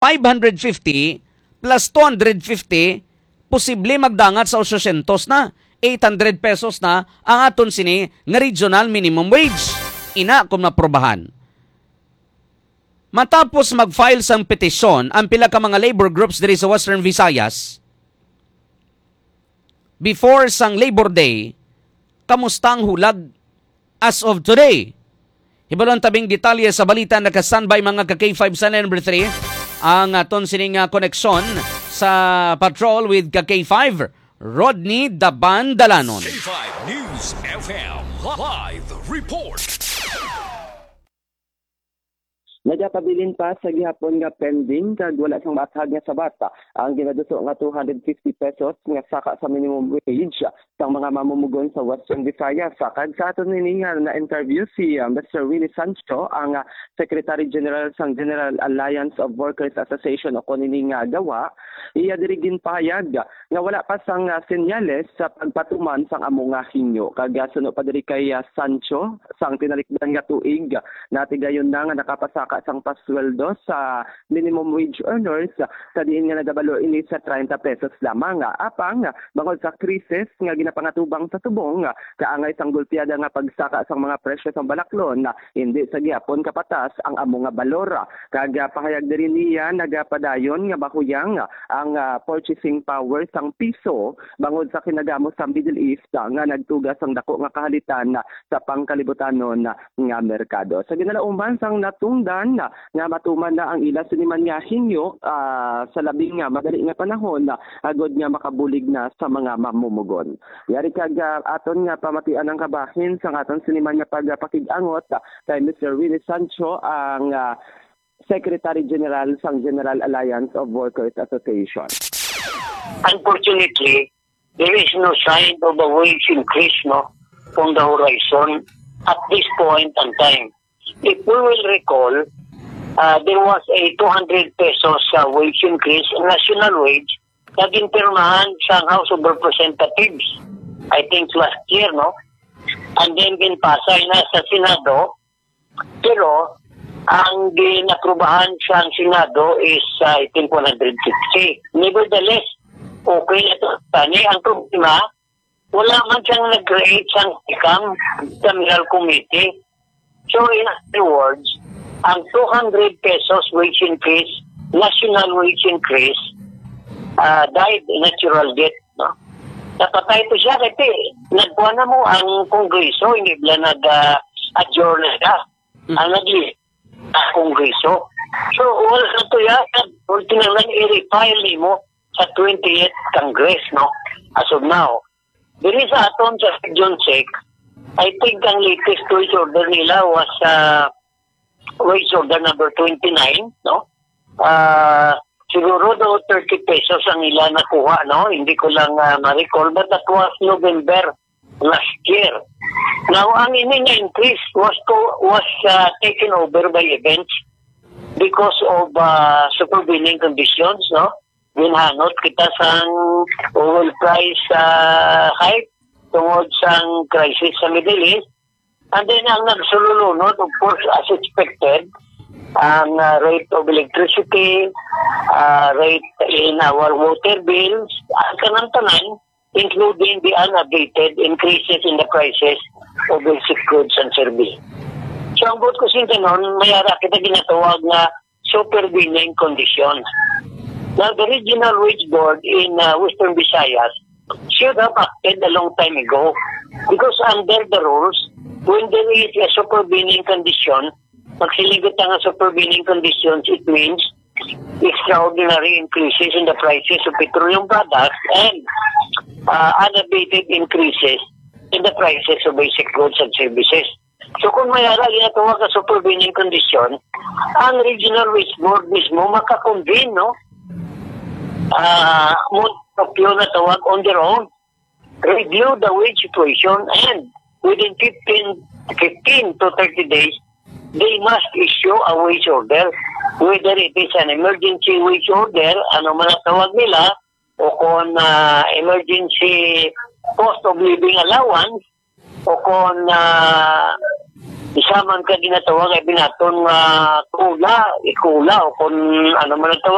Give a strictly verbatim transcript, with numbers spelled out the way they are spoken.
five hundred fifty plus two hundred fifty, posible magdangat sa eight hundred pesos na ang aton sini nga regional minimum wage. Ina kung maprobahan. Matapos mag-file sang petisyon ang pila ka mga labor groups diri sa Western Visayas before sang Labor Day, kamusta ang hulag as of today? Hibaluan tabing detalye sa balita, naka-standby mga ka K five sa number three. Ang aton sining, ah, koneksyon sa Patrol with ka K five, Rodney Daban Dalanon. K five News F M live report. Nagapabilin pa sa gihapon nga pending kag wala sang maathag nga sabat ang ginaduso nga two hundred fifty pesos nga saka sa minimum wage sang mga mamumugon sa Western Visayas. Kag sa aton ini nga na-interview si, ah, Mister Willie Sancho, ang, ah, Secretary General sang General Alliance of Workers Association o kon ini nga GAWA, iya diri ginpahayag nga wala pa sang, ah, senyales sa pagpatuman sang amo nga hingyo. Kag, ah, suno pa diri kay, ah, Sancho, sang tinalikdan nga tuig, natigayon na nga nakapasaka sang pasweldo sa minimum wage earners, sa diin nga nagabalo ini sa treinta pesos lamang. Apang, bangod sa krisis nga ginapangatubang sa subong, kaangay sang gulpiada nga pagsaka sang mga presyo sang balaklon, hindi sa gihapon kapatas ang amo nga balor. Kag, ah, pahayag diri niya, nagapadayon nga mahuyang ang, ah, purchasing power sang piso bangod sa kinagamo sa Middle East, ah, nga nagtuga sang dako nga kahalitan sa pangkalibutanon nga merkado. Sa ginalauman sang natungdan nga matuman na ang ila sini man nga hingyo, ah, sa labi nga madali nga panahon, ah, agod nga makabulig na sa mga mamumugon. Yari kag, ah, aton nga pamatian ang kabahin sang aton sini man nga pagpakig-angot, ah, kay Mister Willie Sancho, ang, ah, Secretary General sang General Alliance of Workers Association. Unfortunately, there is no sign of a wage increase, no, on the horizon at this point in time. If we will recall, uh, there was a two hundred pesos, uh, wage increase, national wage, na ginpirmahan sa House of Representatives, I think last year, no? And then ginpasa na sa Senado, pero ang ginaprubahan sa Senado is, uh, I think, one hundred fifty. Nevertheless, okay na to. Tani, ang problema, wala man siyang nag-create sang income sa General Committee. So, in other words, ang two hundred pesos wage increase, national wage increase, ah, died natural death, no? Napatay to siya kasi nagkuha na mo ang Kongreso, hindi bala nag, ah, adjourn na siya. Mm. Ang nag-, ang Kongreso. So, wala na to yan. Kinahanglan i-refile nimo sa twentieth Congress, no? As of now. Diri sa aton sa Region six, I think ang latest wage order nila was, ah, wage order number twenty-nine, no? Ah, siguro do thirty pesos ang ila nakuha, no? Hindi ko lang, ah, ma-recall, but that was November last year. Now, ang ini nga increase was co-, was, ah, taken over by events because of, ah, supervening conditions, no? Ginhanot kita sang oil price, ah, hike tungod sang crisis sa Middle East. And then, ang nagsululunod, of course, as expected, ang, ah, rate of electricity, ah, rate in our water bills, ang kanang tanan, including the unabated increases in the prices of basic goods and service. So, ang buot ko sing tanan, may ara kita ginatawag nga supervening conditions. Now, the Regional Wage Board in, uh, Western Visayas should have acted a long time ago, because under the rules, when there is a supervening condition, magsiling kita nga supervening conditions, it means extraordinary increases in the prices of petroleum products and, uh, unabated increases in the prices of basic goods and services. So, kung may ara ginatawag nga supervening condition, ang Regional Wage Board mismo makakonvene, no? Ah, mo, na tawag on their own, review the wage situation, and within fifteen, fifteen to thirty days, they must issue a wage order. Whether it is an emergency wage order, ano man ang tawag nila, o kung, ah, emergency cost of living allowance, o kung, ah, isa man ka ginatawag ay binaton nga kula, ikula, o kung ano man ang tawag